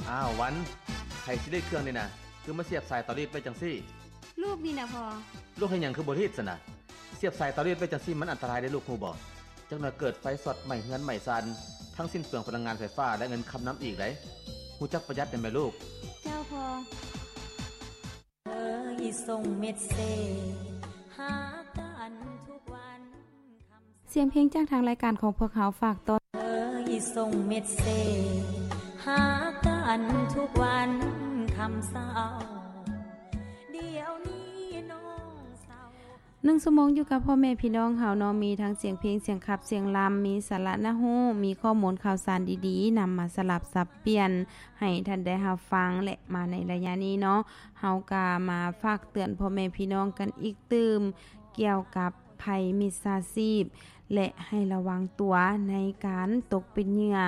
ອ້າວ ວັນ, ໃຜຊິລີດເຄື່ອງນີ້ນະ? ຄືມາສຽບສາຍເຕົາລີດໄວ້ຈັ່ງຊີ້? ລູກນີ້ນະພໍ່. ລູກເຮັດຫຍັງຄືບໍ່ລີດຊັ້ນນະ? ສຽບສາຍເຕົາລີດໄວ້ຈັ່ງຊີ້ມັນອັນຕະລາຍເດ້ລູກ, ຮູ້ບໍ່? ຈັກໜ່ອຍເກີດໄຟຊັອດໄໝ້ເຮືອນໄໝ້ຊານ, ທັງສິ້ນເປືອງພະລັງງານໄຟຟ້າ ແລະ ເງິນຄຳນຳອີກເດ້. ຮູ້ຈັກປະຢັດແດ່ແມ່ລູກ. ເຈົ້າພໍ່. ເອີ ສົ່ງເມັດເສດ ຫາກັນທຸກວັນຄ່ຳ. ສຽງເພງຈາກທາງລາຍການຂອງພວກເຮົາຝາກຕ້ອນ. ເອີ ສົ່ງເມັດເສດ ຫາກັນທຸກວັນຄ່ຳເຊົ້າ. ດຽວນີ້ນ້ອງເສົ້າ. ໜຶ່ງຊົ່ວໂມງຢູ່ກັບພໍ່ແມ່ພີ່ນ້ອງເຮົາເນາະ, ມີທັງສຽງເພງ, ສຽງຂັບ, ສຽງລຳ, ມີສາລະໜ້າຮູ້, ມີຂໍ້ມູນຂ່າວສານດີໆ ນຳມາສະຫຼັບສັບປ່ຽນໃຫ້ທ່ານໄດ້ຮັບຟັງ. ແລະ ມາໃນໄລຍະນີ້ເນາະ, ເຮົາກະມາຝາກເຕືອນພໍ່ແມ່ພີ່ນ້ອງກັນອີກຕື່ມ ກ່ຽວກັບໄພມິດສາຊີບ ແລະ ໃຫ້ລະວັງຕົວໃນການຕົກເປັນເຫຍື່ອ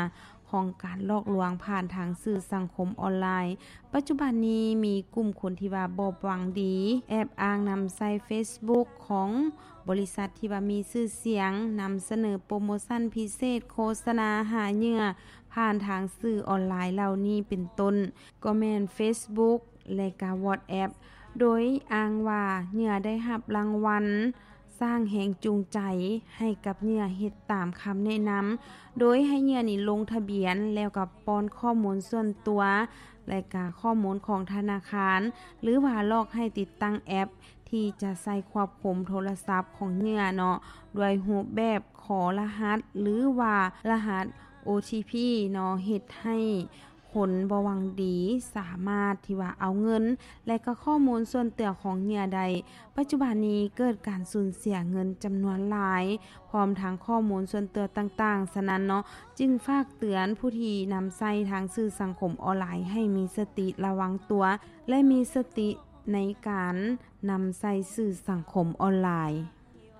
ຂອງການຫຼອກລວງຜ່ານທາງສື່ສັງຄົມອອນລາຍ. ປັດຈຸບັນນີ້ມີກຸ່ມຄົນທີ່ວ່າບໍ່ຫວັງດີ ແອບອ້າງນຳໃຊ້ເຟສບຸກຂອງບໍລິສັດທີ່ວ່າມີຊື່ສຽງ, ນຳສະເໜີໂປຣໂມຊັນພິເສດ, ໂຄສະນາຫາເຫຍື່ອຜ່ານທາງສື່ອອນລາຍເຫຼົ່ານີ້ເປັນຕົ້ນ ກໍແມ່ນເຟສບຸກ ແລະ ກະວອດແອັບ ໂດຍອ້າງວ່າເຫຍື່ອໄດ້ຮັບລາງວັນສ້າງແຮງຈູງໃຈໃຫ້ກັບເຫຍື່ອເຮັດຕາມຄຳແນະນຳ, ໂດຍໃຫ້ເຫຍື່ອນີ້ລົງທະບຽນ ແລ້ວກໍປ້ອນຂໍ້ມູນສ່ວນຕົວ ແລະ ກະຂໍ້ມູນຂອງທະນາຄານ ຫຼືວ່າຫຼອກໃຫ້ຕິດຕັ້ງແອັບທີ່ຈະໃຊ້ຄວບຄຸມໂທລະສັບຂອງເຫຍື່ອເນາະ ດ້ວຍຮູບແບບຂໍລະຫັດ ຫຼືວ່າລະຫັດ ໂອທີພີ ເນາະ ເຮັດໃຫ້ ຄົນບໍ່ຫວັງດີສາມາດທີ່ວ່າເອົາເງິນ ແລະ ກໍຂໍ້ມູນສ່ວນຕົວຂອງເຫຍື່ອໄດ້. ປັດຈຸບັນນີ້ເກີດການສູນເສຍເງິນຈຳນວນຫຼາຍ ພ້ອມທັງຂໍ້ມູນສ່ວນຕົວຕ່າງໆ. ສະນັ້ນເນາະ, ຈຶ່ງຝາກເຕືອນຜູ້ທີ່ນຳໃຊ້ທາງສື່ສັງຄົມອອນລາຍໃຫ້ມີສະຕິລະວັງຕົວ ແລະ ມີສະຕິໃນການນຳໃຊ້ສື່ສັງຄົມອອນລາຍ.